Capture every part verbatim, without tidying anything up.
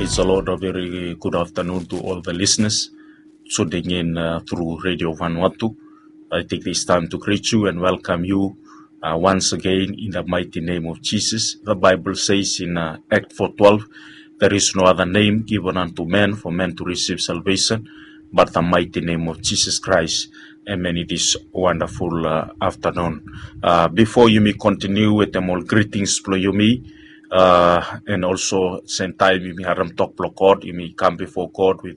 Praise the Lord. A very good afternoon to all the listeners tuning in uh, through Radio Vanuatu. I take this time to greet you and welcome you uh, once again in the mighty name of Jesus. The Bible says in uh, Act four twelve, "There is no other name given unto men for men to receive salvation but the mighty name of Jesus Christ." Amen. It is wonderful uh, afternoon. Uh, before yumi continue with them all greetings blo yumi, uh, and also same time yumi harem tok blo God, yumi come before God with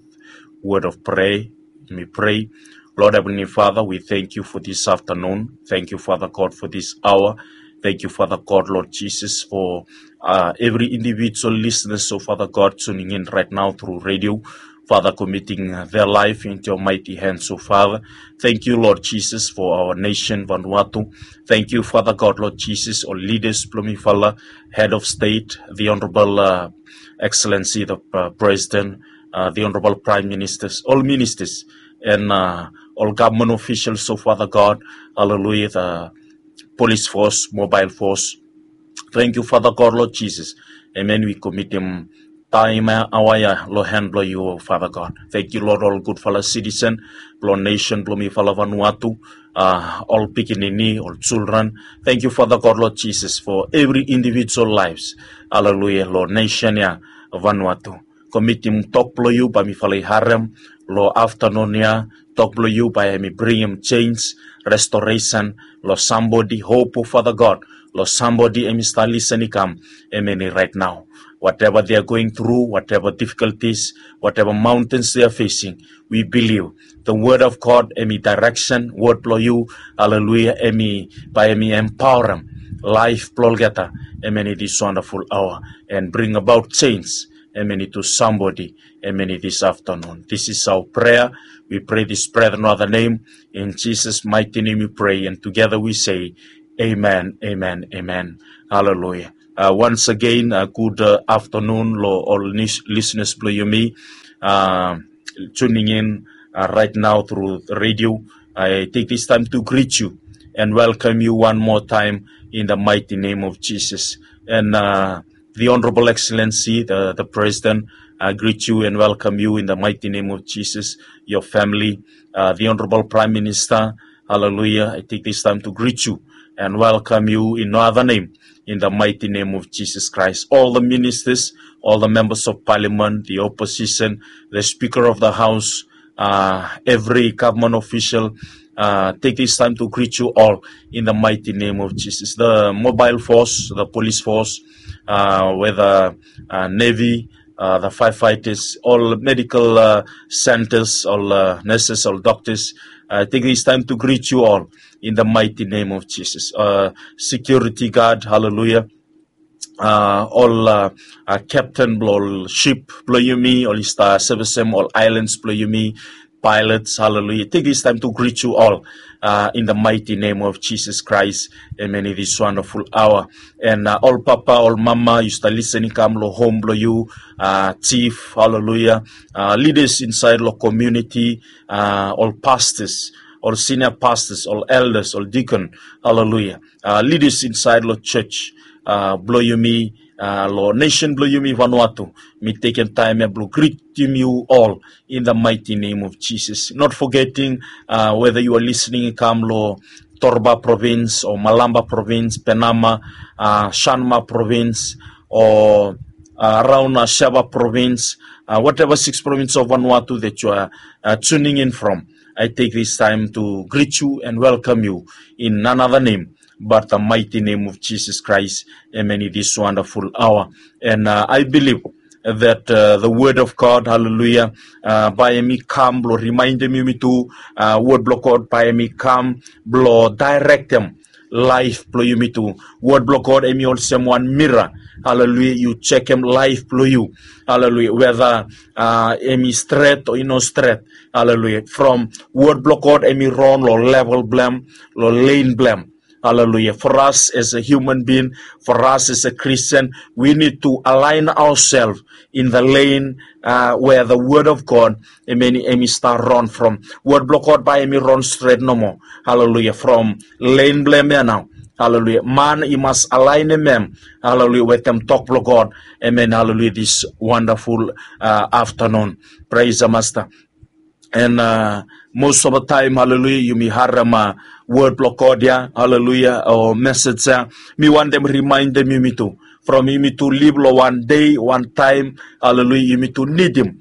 word of prayer. Yumi pray. Lord Heavenly Father, we thank you for this afternoon. Thank you, Father God, for this hour. Thank you, Father God, Lord Jesus, for uh, every individual listener, so Father God, tuning in right now through radio. Father, committing uh, their life into your mighty hands, so Father. Thank you, Lord Jesus, for our nation, Vanuatu. Thank you, Father God, Lord Jesus, all leaders, blo mifala, head of state, the Honorable uh, Excellency, the uh, President, uh, the Honorable Prime Ministers, all ministers, and uh, all government officials, so Father God, hallelujah, the police force, mobile force. Thank you, Father God, Lord Jesus. Amen. We commit them time uh, awa ya lo hand blo yu, Father God. Thank you, Lord, all gudfala citizen blo nation blo mifala Vanuatu, uh, all pikinini, all children. Thank you, Father God, Lord Jesus, for every individual lives. Hallelujah, lo nation ya Vanuatu. Committing tok blo yu bae mifala i harem lo afternoon ya. Tok blo yu bae hemi bringim change, restoration lo somebody, hope, Father God, lo somebody hemi stap listen i kam, hemeni right now. Whatever they are going through, whatever difficulties, whatever mountains they are facing, we believe the word of God, hemi direction, word blo yu, hallelujah, hemi bae hemi empowerem life blo olgeta, hemeni, this wonderful hour, and bring about change, hemeni, to somebody, hemeni, this afternoon. This is our prayer. We pray this prayer in no other name. In Jesus' mighty name we pray, and together we say, Amen, amen, amen. Hallelujah. Uh, once again, uh, good uh, afternoon lo all lis- listeners blo yumi uh, tuning in uh, right now through the radio. I take this time to greet you and welcome you one more time in the mighty name of Jesus. And uh, the Honorable Excellency, the, the President, I greet you and welcome you in the mighty name of Jesus, your family, uh, the Honorable Prime Minister. Hallelujah. I take this time to greet you and welcome you in no other name, in the mighty name of Jesus Christ. All the ministers, all the members of parliament, the opposition, the Speaker of the House, uh, every government official, uh, take this time to greet you all in the mighty name of Jesus. The mobile force, the police force, uh, whether uh, navy, uh, the firefighters, all medical uh, centers, all uh, nurses, all doctors. I take this time to greet you all in the mighty name of Jesus. Uh, security guard, hallelujah. Uh, all uh, uh, captain blo ol ship blo yumi, ol i stap sevisem ol islands blo yumi, pilots, hallelujah. Take this time to greet you all uh, in the mighty name of Jesus Christ. Amen. In this wonderful hour. And uh, all papa, all mama, yu stap listen i kam lo home blo yu, uh, chief, hallelujah. Uh, leaders inside lo community, uh, all pastors, all senior pastors, all elders, all deacon, hallelujah. Uh, leaders inside lo church uh, blo yumi, uh, lo nation blo yumi Vanuatu. Mi tekem time ya blo greetim yu all in the mighty name of Jesus. Not forgetting uh, whether you are listening i kam lo Torba province or Malampa province, Penama, uh, Shanma province, or uh, around uh, Shaba province, uh, whatever six province of Vanuatu that you are uh, tuning in from. I take this time to greet you and welcome you in another name but the mighty name of Jesus Christ. Amen. In this wonderful hour. And uh, I believe that uh, the word of God, hallelujah, uh, bae hemi kam blo remindem yumitu, uh, word blo God bae hemi kam blo directem life blo yumitu. Word blo God hemi olsem wan mirror. Hallelujah. Yu jekem life blo yu. Hallelujah. Whether uh, hemi stret o i no stret. Hallelujah. From word blo God hemi ron lo level blem, lo lane blem. Hallelujah. For us as a human being, for us as a Christian, we need to align ourselves in the lane uh, where the word of God, amen, hemi stap ron from. Word blo God bae hemi ron stret nomo. Hallelujah. From lane blem ya nao Haleluya. Man i mas alaenem hem, haleluya, wetem tok blong God. Amen. Haleluya. This wonderful uh, afternoon. Praise the Master. And uh, most of the time, haleluya, yumi harem uh, word blong God ya, haleluya, o message ya. Mi wantem remind them yumi tu. From yumi tu live long one day, one time, haleluya, yumi tu need him.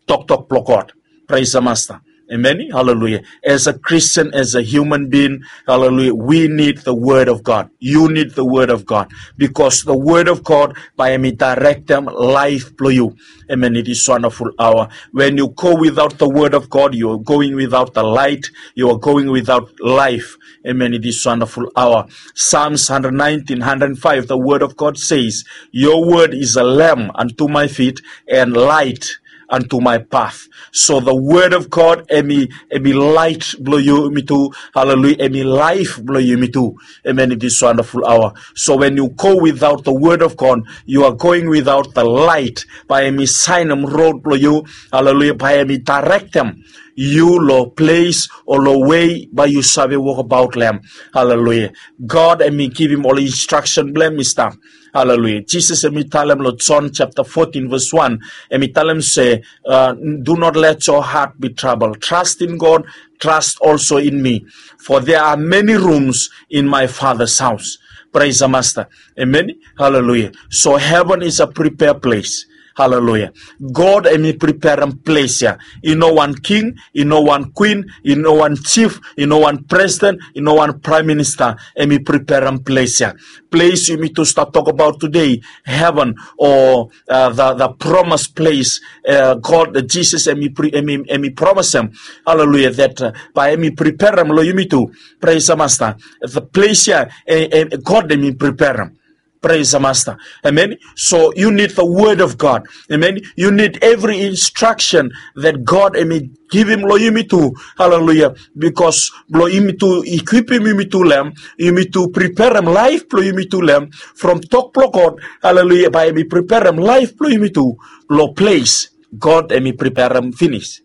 Tok tok blong God. Praise the Master. Amen. Hallelujah. As a Christian, as a human being, hallelujah, we need the word of God. You need the word of God. Because the word of God, bae hemi directem life blong yu. Amen. It is wonderful hour. When you go without the word of God, you are going without the light. You are going without life. Amen. It is wonderful hour. Psalms hundred nineteen, hundred five, the word of God says, your word is a lamp unto my feet and light unto my path. So the word of God, hemi, hemi light blong yumi tu. Hallelujah. Hemi life blong yumi tu. Amen. It is wonderful hour. So when you go without the word of God, you are going without the light. Bae hemi saenem road blong yu. Hallelujah. Bae hemi directem yu long ples o long wei bae yu save wokbaot long hem. Hallelujah. God hemi givim ol instruction blong hem i stap. Haleluya. Jisas hemi talem long John chapter fourteen verse one, hemi talem se, uh, do not let your heart be troubled. Trust in God, trust also in me. For there are many rooms in my Father's house. Praise the Master. Amen. Hallelujah. So heaven is a prepared place. Haleluya. God hemi preperem ples ya. I no wan king, i no wan queen, i no wan chief, i no wan president, i no wan prime minister. Hemi preperem ples ya. Ples yumi tu stap tokbaot today, heaven o uh, the, the promise place. Uh, God, Jisas hemi, hemi, hemi promisem. Haleluya. That uh, bae hemi preperem long yumi tu. Praise the Master. The ples ya, eh, eh, God hemi preperem. Praise the Master. Amen. So you need the word of God. Amen. You need every instruction that God hemi givim long yumi tu. Hallelujah. Because blong yumi tu equipim yumi tu long hem, yumi tu preperem life blong yumi tu long hem. From tok blong God, hallelujah, bae hemi preperem life blong yumi tu long ples God hemi preperem finis.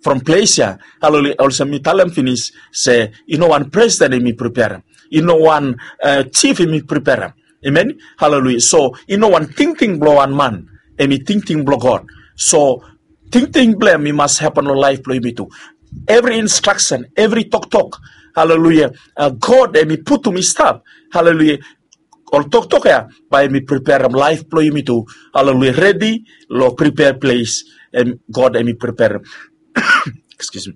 From ples ya, haleluya, olsem mi talem finis se i no wan president hemi preperem. I no wan uh, chief hemi preperem. Amen. Haleluya. So i no wan tingting blong wan man, hemi tingting blong God. So tingting blong hem i mas hapen long laef blong yumi tu. Evri instraksen, evri toktok, haleluya, uh, God hemi putum i stap. Haleluya. Ol toktok ya bae hemi preperem laef blong yumi tu. Haleluya. Redi long prepare ples, and God hemi preperem. Excuse me.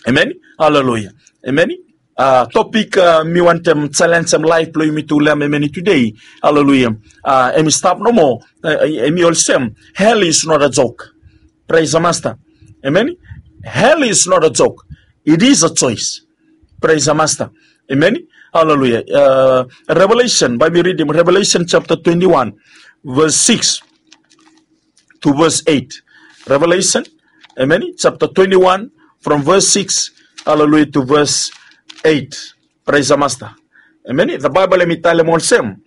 Amen. Haleluya. Amen. Uh, topik uh, mi wantem jalenjem laef blong yumi tu long hem, amen, tudei. Haleluya. Uh, hemi stap nomo, uh, hemi olsem, hell is not a joke. Praise the Master. Amen. Hell is not a joke. It is a choice. Praise the Master. Amen. Haleluya. Uh, Revelation, bae mi ridim Revelation chapter twenty-one, verse six to verse eight. Revelation, amen, chapter twenty-one, from verse six, haleluya, to verse eight. Praise the Master. Amen. The Bible hemi talem olsem.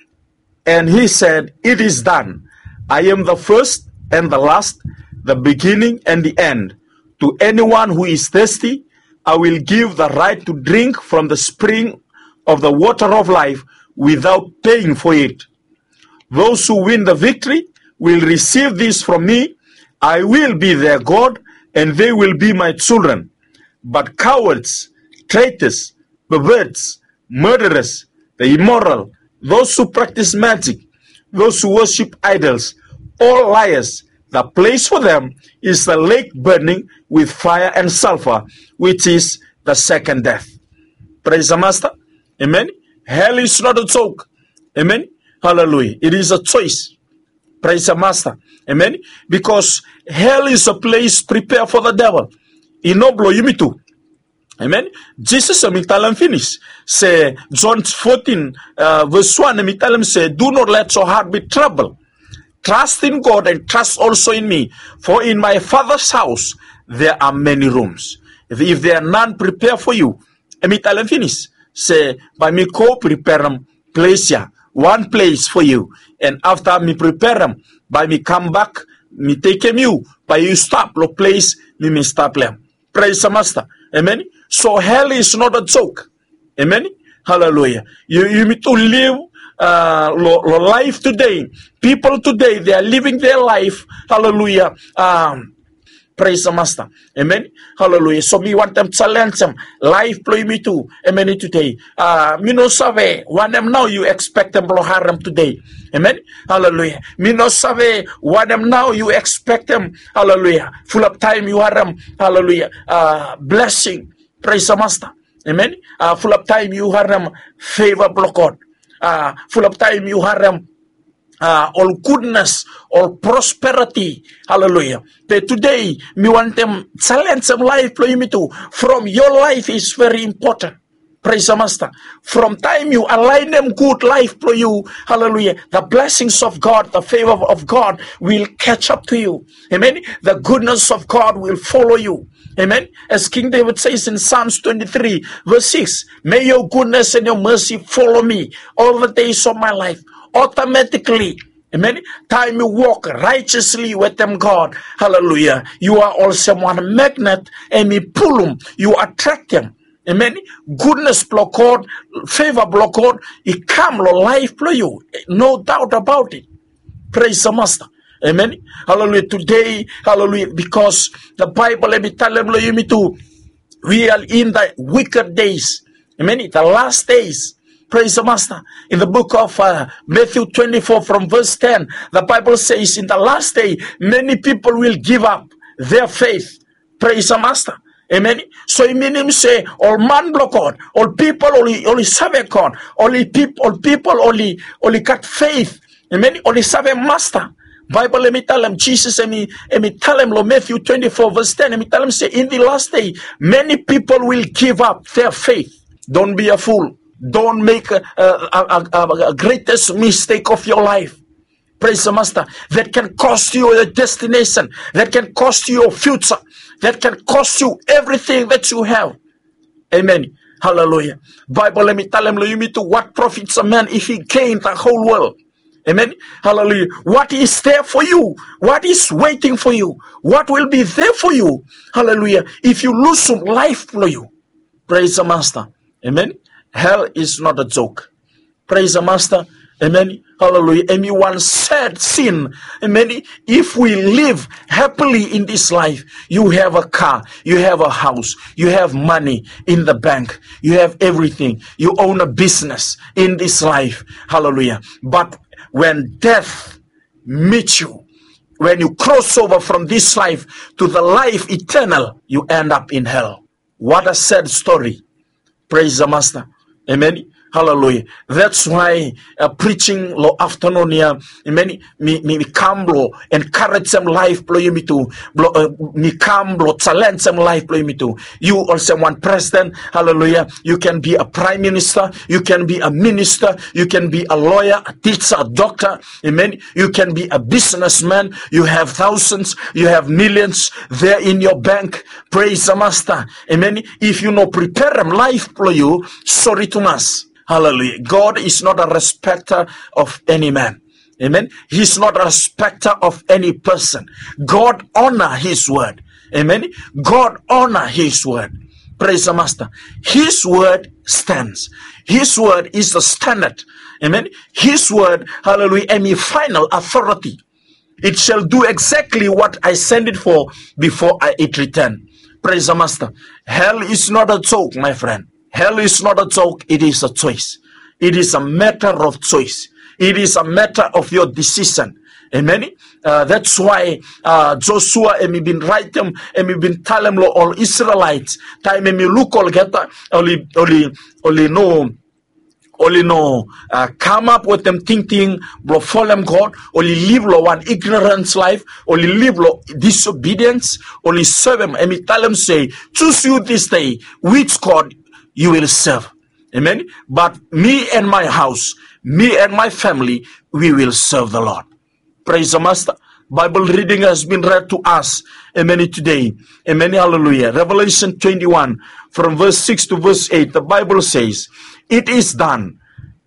And he said, it is done. I am the first and the last, the beginning and the end. To anyone who is thirsty, I will give the right to drink from the spring of the water of life without paying for it. Those who win the victory will receive this from me. I will be their God, and they will be my children. But cowards, traitors, perverts, murderers, the immoral, those who practice magic, those who worship idols, all liars, the place for them is the lake burning with fire and sulfur, which is the second death. Praise the Master. Amen. Hell is not a joke. Amen. Hallelujah. It is a choice. Praise the Master. Amen. Because hell is a place prepared for the devil. I no blong yumi tu. Amen. Jisas hemi talem finis se, John fourteen, uh, verse one, hemi talem se, do not let your heart be troubled. Trust in God and trust also in me. For in my Father's house there are many rooms. If, if there are none prepared for you, hemi talem finis se, bae mi go preperem ples ya, wan ples for you. And afta mi preperem, bae mi kambak, mi tekem yu, bae yu stap long ples mi mi stap long hem. Praise the Master. Amen. So hell is not a joke. Amen. Haleluya. Yumi tu liv long laif tudei. Pipol tudei, they are living their life. Haleluya. Praise the Master. Amen. Haleluya. So mi wantem jalenjem laif blong yumi tu. Amen. Tudei mi no save wanem nao yu ekspektem blong harem tudei. Amen. Haleluya. Mi no save wanem nao yu ekspektem. Haleluya. Fulap taim yu harem, haleluya, blesing. Praise the Master. Amen. Fulap taim yu harem feva blong God. Fulap taim yu harem ol gudnes, ol prosperiti. Haleluya. Be tudei mi wantem jalenjem laif blong yumi tu. From your life is very important. Praise the Master. From taim yu alaenem gud laif blong yu, haleluya, the blessings of God, the favor of God will catch up to you. Amen. The goodness of God will follow you. Amen. As King David says in Psalms twenty-three, verse six, may your goodness and your mercy follow me all the days of my life. Automatically, amen, taim yu wok righteously wetem God, haleluya, yu are olsem wan magnet, hemi pulum, yu atraktem. Amen. Gudnes blong God, feva blong God i kam long laif blong yu. No doubt about it. Praise the Master. Amen. Haleluya. Tudei, haleluya, because the Bible hemi talem long yumi tu, we are in the wicked days. Amen. The last days. Praise the Master. In the book of Matthew twenty-four from verse ten, the Bible says, in the last day many people will give up their faith. Praise the Master. Amen. So i minim se ol man blong God, ol pipol oli save God, ol pipol oli gat faith. Amen. Oli save Master. Baibel hemi talem, Jisas hemi talem long Matthew twenty-four verse ten, hemi talem se in the last day many people will give up their faith. Don't be a fool. Don't make a, a, a, a greatest mistake of your life. Praise the Master. That can cost you your destination. That can cost you your future. That can cost you everything that you have. Amen. Haleluya. Baibel hemi talem long yumi tu, what profits a man if he gain the whole world? Amen. Haleluya. What is there for you? What is waiting for you? What will be there for you? Haleluya. If yu lusum laif blong yu. Praise the Master. Amen. Hell is not a joke. Praise the Master. Amen. Haleluya. Hemi wan sad sin. Amen. If we live happily in this life, you have a car, you have a house, you have money in the bank, you have everything, you own a business in this life. Haleluya. But when death meets you, when you cross over from this life to the life eternal, you end up in hell. What a sad story. Praise the Master. Amen. Haleluya. That's why preaching long aftanun ya, amen, mi kam blong enkarejem laif blong yumi tu. Mi kam blong jalenjem laif blong yumi tu. Yu olsem wan president, haleluya, you can be a prime minister, you can be a minister, you can be a lawyer, a teacher, a doctor. Amen. You can be a businessman. You have thousands, you have millions there in your bank. Praise the Master. Amen. If yu no preperem laif blong yu, sori tumas. Haleluya. God is not a respecter of any man. Amen. He's not a respecter of any person. God honor his word. Amen. God honor his word. Praise the Master. His word stands. His word is the standard. Amen. His word, haleluya, hemi final authority. It shall do exactly what I send it for before I, it return. Praise the Master. Hell is not a joke, my friend. Hell is not a joke, it is a choice. It is a matter of choice. It is a matter of your decision. Amen. That's why Joshua hemi bin raetem, hemi bin talem long ol Israelites, taim hemi luk olgeta oli, oli, oli no oli no kamap wetem tingting blong folem God, oli liv long wan ignorance laef, oli liv long disobedience, oli sevem, hemi talem se, choose you this day which God you will serve. Amen. But me and my house, me and my family, we will serve the Lord. Praise the Master. Bible reading has been read to us. Amen. Today. Amen. Hallelujah. Revelation twenty-one, from verse six to verse eight, the Bible says, "It is done.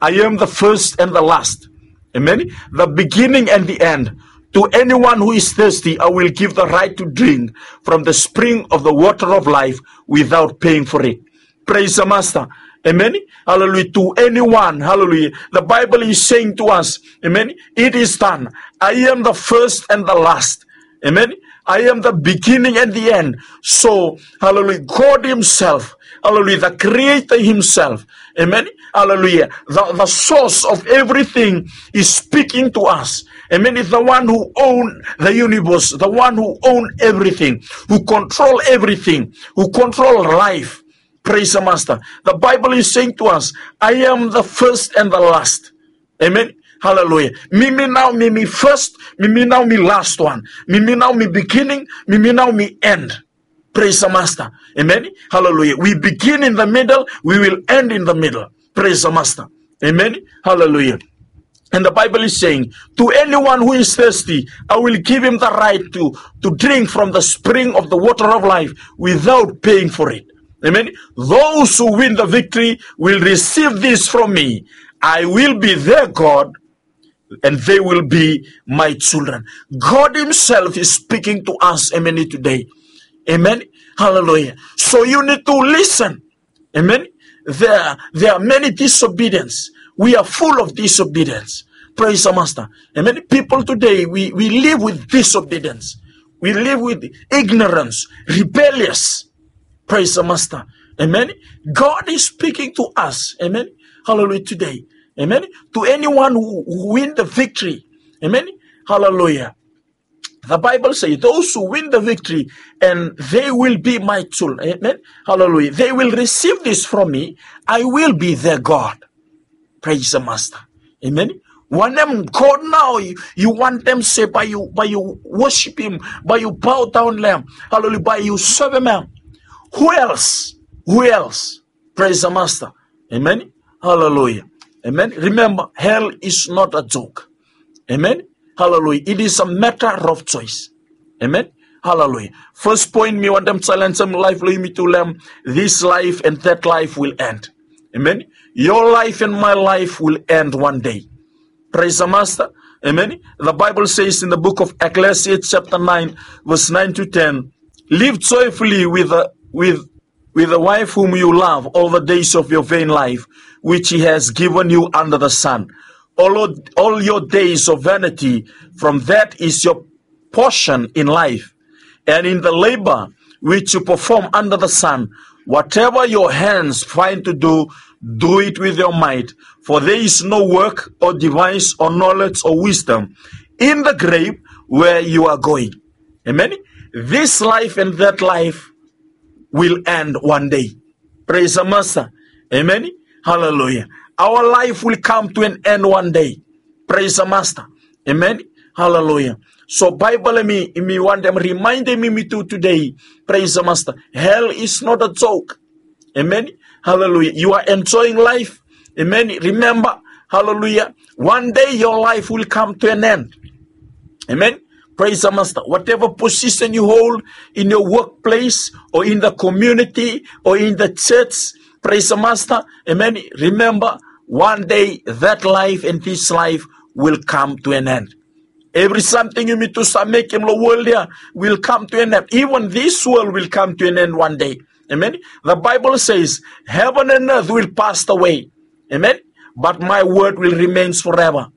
I am the first and the last. Amen. The beginning and the end. To anyone who is thirsty, I will give the right to drink from the spring of the water of life without paying for it." Praise the Master. Amen. Hallelujah. To anyone, hallelujah, the Bible is saying to us, amen, it is done. I am the first and the last. Amen. I am the beginning and the end. So, hallelujah, God Himself, hallelujah, the Creator Himself, amen, hallelujah, the, the source of everything is speaking to us. Amen. Is the one who own the universe, the one who own everything, who control everything, who control life. Praise the Master. The Bible is saying to us, I am the first and the last. Amen. Hallelujah. Mi mi nao mi mi first, mi mi nao mi last one. Mi mi nao mi beginning, mi mi nao mi end. Praise the Master. Amen. Hallelujah. We begin in the middle, we will end in the middle. Praise the Master. Amen. Hallelujah. And the Bible is saying, to anyone who is thirsty, I will give him the right to, to drink from the spring of the water of life without paying for it. Amen. Those who win the victory will receive this from me. I will be their God, and they will be my children. God Himself is speaking to us, amen, today. Amen. Hallelujah. So you need to listen. Amen. There, there are many disobedience. We are full of disobedience. Praise the Master. Amen. People today, we, we live with disobedience. We live with ignorance, rebellious. Praise the Master. Amen. God is speaking to us. Amen. Hallelujah. Today. Amen. To anyone who, who win the victory. Amen. Hallelujah. The Bible says, those who win the victory, and they will be my children. Amen. Hallelujah. They will receive this from me. I will be their God. Praise the Master. Amen. Wanem God nao yu, yu wantem se bae yu, bae yu worship him, bae yu bow down long hem. Hallelujah. Bae yu serve him. Who else? Who else? Praise the Master. Amen. Hallelujah. Amen. Remember, hell is not a joke. Amen. Hallelujah. It is a matter of choice. Amen. Hallelujah. First point, mi wantem challenge hem life lo yumi tu long hem. This life and that life will end. Amen. Your life and my life will end one day. Praise the Master. Amen. The Bible says in the book of Ecclesiastes chapter nine, verse nine to ten, live joyfully with the, with, with the wife whom you love all the days of your vain life, which he has given you under the sun. All, all your days of vanity, from that is your portion in life, and in the labor which you perform under the sun. Whatever your hands find to do, do it with your might. For there is no work or device or knowledge or wisdom in the grave where you are going. Amen. This life and that life will end one day. Praise the Master. Amen. Hallelujah. Our life will come to an end one day. Praise the Master. Amen. Hallelujah. So Bible hemi, hemi wantem remind yumi tu today. Praise the Master. Hell is not a joke. Amen. Hallelujah. You are enjoying life. Amen. Remember, hallelujah, one day your life will come to an end. Amen. Praise the Master. Whatever position you hold in your workplace or in the community or in the church, praise the Master. Amen. Remember, one day that life and this life will come to an end. Evri samting yumi tu save mekem lo wol ya will come to an end. Even this world will come to an end one day. Amen. The Bible says, heaven and earth will pass away. Amen. But my word will remains forever.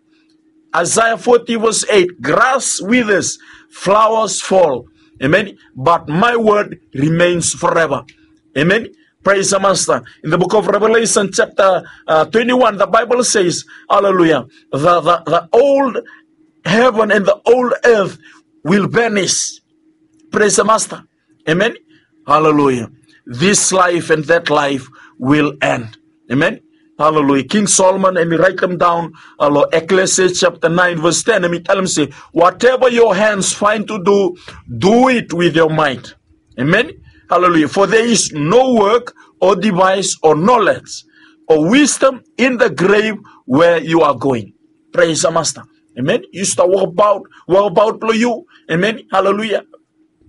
Isaiah forty verse eight, grass withers, flowers fall. Amen. But my word remains forever. Amen. Praise the Master. In the book of Revelation, chapter, uh, twenty-one, the Bible says, hallelujah, the, the, the old heaven and the old earth will vanish. Praise the Master. Amen. Hallelujah. This life and that life will end. Amen. Hallelujah. King Solomon, hemi raetem daon lo Ecclesiastes chapter nine, verse ten, hemi talem se, whatever your hands find to do, do it with your might. Amen. Hallelujah. For there is no work or device or knowledge or wisdom in the grave where you are going. Praise the Master. Amen. Yu stap wokbaot, wokbaot blo yu. Amen. Hallelujah.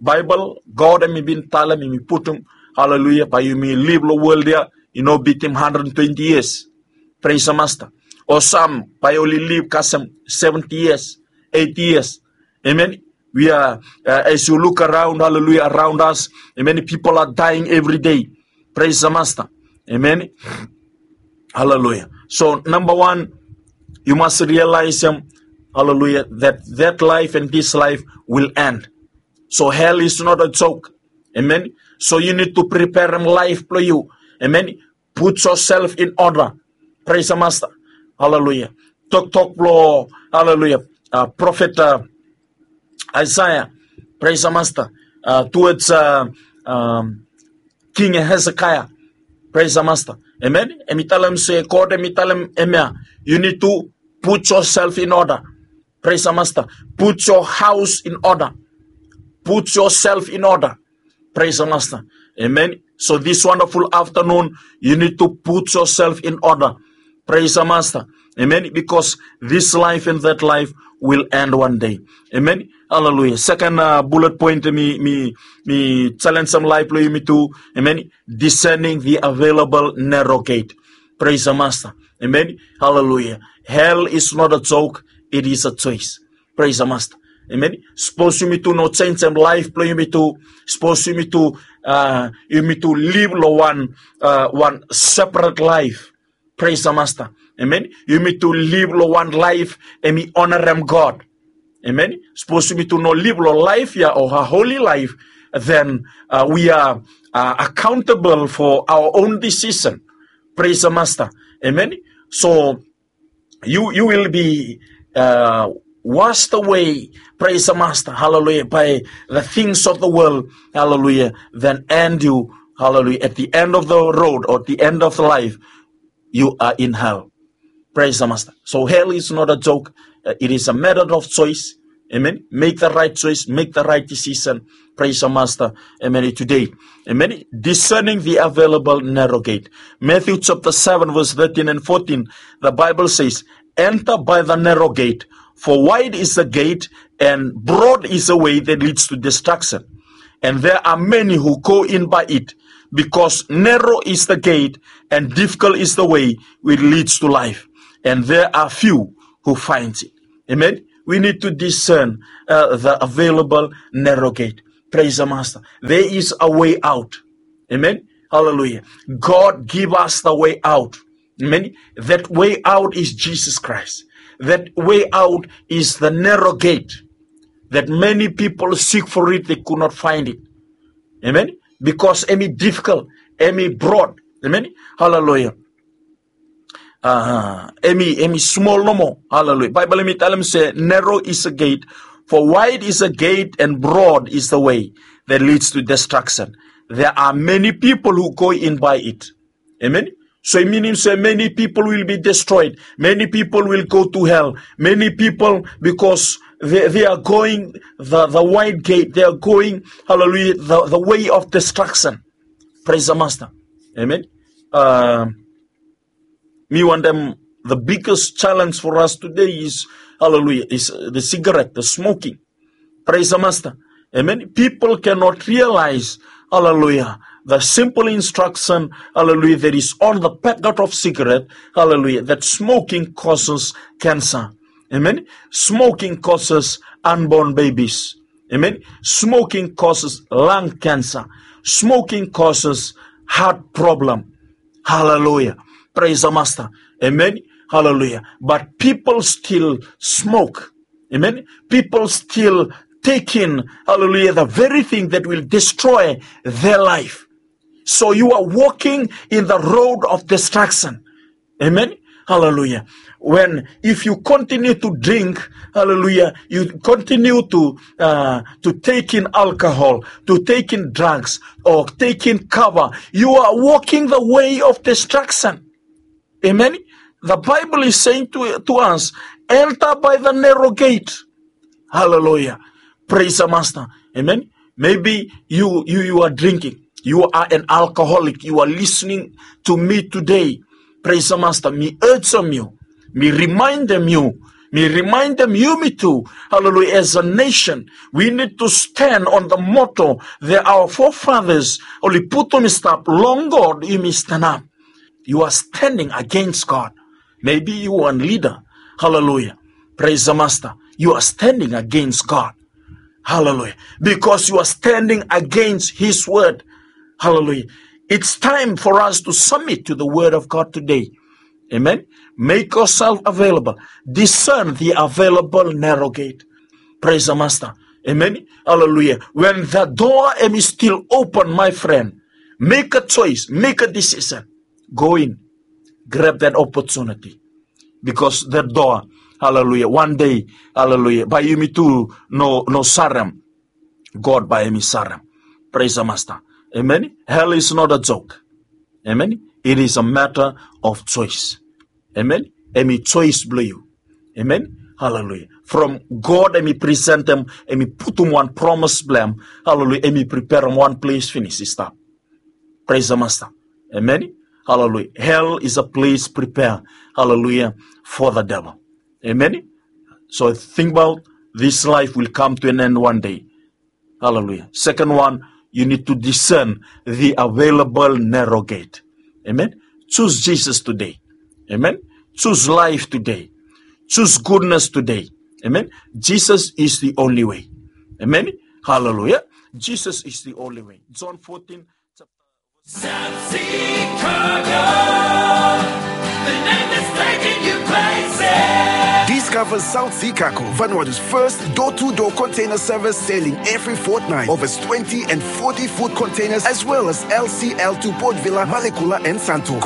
Baebol, God hemi bin talem, hemi putum, hallelujah, bae yumi liv lo wol ya i no bitim hundred twenty years. Praise the Master. O sam bae oli liv kasem seventy years, eighty years. Amen. We are, uh, as you look around, hallelujah, around us, amen, people are dying every day. Praise the Master. Amen. Hallelujah. So number one, you must realize, um, hallelujah, that that life and this life will end. So hell is not a joke. Amen. So you need to prepare life for you. Amen. Put yourself in order. Praise the Master. Hallelujah. Toktok blo, hallelujah, uh, prophet, uh, Isaiah. Praise the Master. Uh, towards, uh, um, King Hezekiah. Praise the Master. Amen. Hemi talem se, God hemi talem hemia, you need to put yourself in order. Praise the Master. Put your house in order. Put yourself in order. Praise the Master. Amen. So this wonderful afternoon, you need to put yourself in order. Praise the Master. Amen. Because this life and that life will end one day. Amen. Hallelujah. Second, uh, bullet point, mi, mi, mi challenge some life lo yumi tu. Amen. Discerning the available narrow gate. Praise the Master. Amen. Hallelujah. Hell is not a joke. It is a choice. Praise the Master. Amen. Sapos yumi tu no jenijem laef blo yumi tu, sapos yumi tu, uh, yumi tu liv lo wan, uh, wan separate life. Praise the Master. Amen. Yumi tu liv lo wan laef hemi onarem God. Amen. Sapos yumi tu no liv lo laef ya o a holy life, then, uh, we are, uh, accountable for our own decision. Praise the Master. Amen. So you, you will be, uh, washed away, praise the Master, hallelujah, by the things of the world, hallelujah, then end you, hallelujah, at the end of the road or at the end of life, you are in hell. Praise the Master. So hell is not a joke. Uh, it is a matter of choice. Amen. Make the right choice, make the right decision. Praise the Master. Amen. Today. Amen. Discerning the available narrow gate. Matthew chapter seven, verse thirteen and fourteen, the Bible says, "Enter by the narrow gate, for wide is the gate and broad is the way that leads to destruction. And there are many who go in by it, because narrow is the gate and difficult is the way which leads to life. And there are few who finds it." Amen. We need to discern, uh, the available narrow gate. Praise the Master. There is a way out. Amen. Hallelujah. God give us the way out. Amen. That way out is Jesus Christ. That way out is the narrow gate that many people seek for it, they could not find it. Amen. Because hemi difficult, hemi broad. Amen. Hallelujah. Uh, hemi, hemi smol nomo. Hallelujah. Baebol hemi talem se, "Narrow is a gate, for wide is a gate and broad is the way that leads to destruction. There are many people who go in by it." Amen. So i minim se many people will be destroyed. Many people will go to hell. Many people, because they, they are going the, the wide gate. They are going, hallelujah, the, the way of destruction. Praise the Master. Amen. Uh, mi wantem, the biggest challenge for us today is, hallelujah, is, uh, the cigarette, the smoking. Praise the Master. Amen. People cannot realize, hallelujah, the simple instruction, hallelujah, that is on the packet of cigarette, hallelujah, that smoking causes cancer. Amen. Smoking causes unborn babies. Amen. Smoking causes lung cancer. Smoking causes heart problem. Hallelujah. Praise the Master. Amen. Hallelujah. But people still smoke. Amen. People still take in, hallelujah, the very thing that will destroy their life. So you are walking in the road of destruction. Amen. Hallelujah. When, if you continue to drink, hallelujah, you continue to, uh, to take in alcohol, to take in drugs, or take in kava, you are walking the way of destruction. Amen. The Bible is saying to, to us, "Enter by the narrow gate." Hallelujah. Praise the Master. Amen. Maybe you, you, you are drinking. You are an alcoholic. You are listening to me today. Praise the Master. Mi urgem yu. Mi remindem yu. Mi remindem yumi tu. Hallelujah. As a nation, we need to stand on the motto that our forefathers oli putum i stap, "Long God yumi stanap." You are standing against God. Maybe you are a leader. Hallelujah. Praise the Master. You are standing against God. Hallelujah. Because you are standing against his word. Hallelujah. It's time for us to submit to the word of God today. Amen. Make yourself available. Discern the available narrow gate. Praise the Master. Amen. Hallelujah. When the door hemi still open, my friend, make a choice, make a decision. Go in, grab that opportunity. Because that door, hallelujah, one day, hallelujah, bae yumi tu no, no sarem, God bae hemi sarem. Praise the Master. Amen. Hell is not a joke. Amen. It is a matter of choice. Amen. Hemi choice blong yu. Amen. Hallelujah. From God hemi presentem, hemi putum wan promise blong hem. Hallelujah. Hemi preperem wan ples finis i stap. Praise the Master. Amen. Hallelujah. Hell is a place prepared, hallelujah, for the devil. Amen. So think about this life will come to an end one day. Hallelujah. Second one, you need to discern the available narrow gate. Amen. Choose Jesus today. Amen. Choose life today. Choose goodness today. Amen. Jesus is the only way. Amen. Hallelujah. Jesus is the only way. John fourteen, chapter South Sea Cargo, the name that's taking you places. Discover South Sea Cargo, Vanuatu's first door-to-door container service, sailing every fortnight. Over twenty and forty foot containers, as well as L C L to Port Vila, Malekula, and Santo.